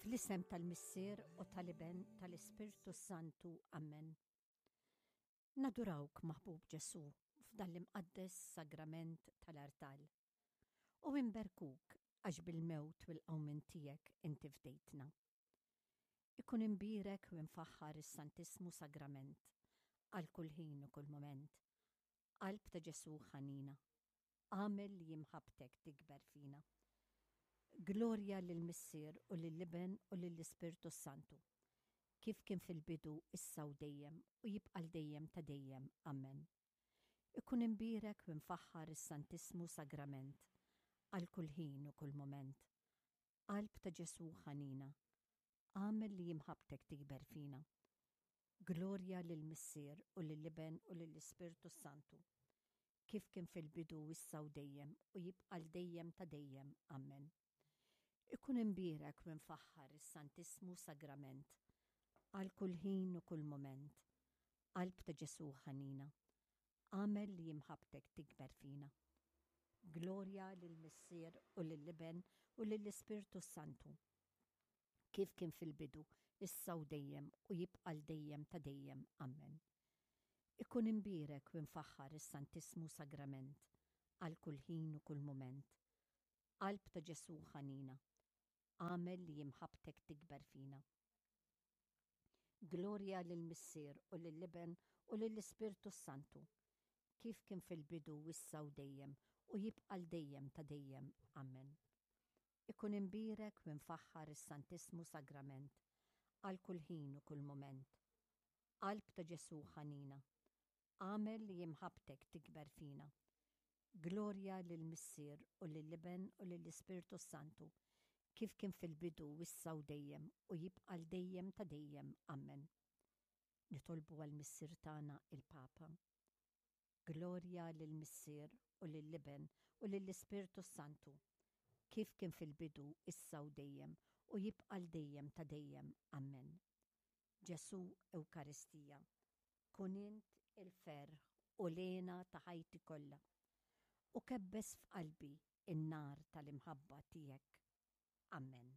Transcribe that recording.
Fl-isem tal-Missier u tal-Iben tal-Ispirtu Santu. Amen. Nadurawk, maħbub Ġesù, f'dan l-imqaddes sagrament tal-artal. U inberkuk għax bil-mewt u l-qawmien tiegħek inti fdejtna. Ikun imbierek u imfaħħar is-Santissmu Sagrament għal kull ħin u kull mument. Qalb ta' Ġesù ħanina, agħmel li imħabbtek tikber fina. Glorja lill-Missier u lill-Iben u lill-Ispirtu s-Santu, kif kien fil-bidu, issa u dejjem, u jibqa' 'l dejjem ta' dejjem. Amen. Ikun imbierek u imfaħħar is-Santissmu Sagrament għal kull ħin u kull mument. Qalb ta' Ġesù ħanina, agħmel li imħabbtek tikber fina. Glorja lill-Missier u lill-Iben u lill-Ispirtu s-Santu, kif kien fil-bidu issa u dejjem u jibqa' 'l dejjem ta' dejjem. Amen. Ikun imbierek u imfaħħar is-Santissmu Sagrament għal kull ħin u kull mument. Qalb ta' Ġesù ħanina, agħmel li imħabbtek tikber fina. Glorja lill-Missier u lill-Iben u lill-Ispirtu s-Santu, kif kien fil-bidu, issa u dejjem u jibqa' 'l dejjem ta' dejjem. Amen. Ikun imbierek u imfaħħar is-Santissmu Sagrament għal kull ħin u kull mument. Qalb ta' Ġesù ħanina, agħmel li imħabbtek tikber fina. Glorja lill-Missier u lill-Iben u lill-Ispirtu s-Santu, kif kien fil-bidu issa u dejjem u jibqa' 'l dejjem ta' dejjem. Amen. Ikun imbierek u imfaħħar is-Santissmu Sagrament għal kull ħin u kull mument. Qalb ta' Ġesù ħanina, agħmel li imħabbtek tikber fina. Glorja lill-Missier u lill-Iben u lill-Ispirtu s-Santu, kif kien fil-bidu issa u dejjem u jibqa' 'l dejjem ta' dejjem. Amen. Nitolbu għall-Missier tagħna il-Papa. Glorja lill-Missier u lill-Iben u lill-Ispirtu s-Santu, kif kien fil-bidu issa u dejjem u jibqa' 'l dejjem ta' dejjem. Amen. Ġesù Ewkaristija, kun int il-ferħ u l-hena ta' ħajti kollha, u kebbes f'qalbi n-nar tal-imħabba tiegħek. Amen.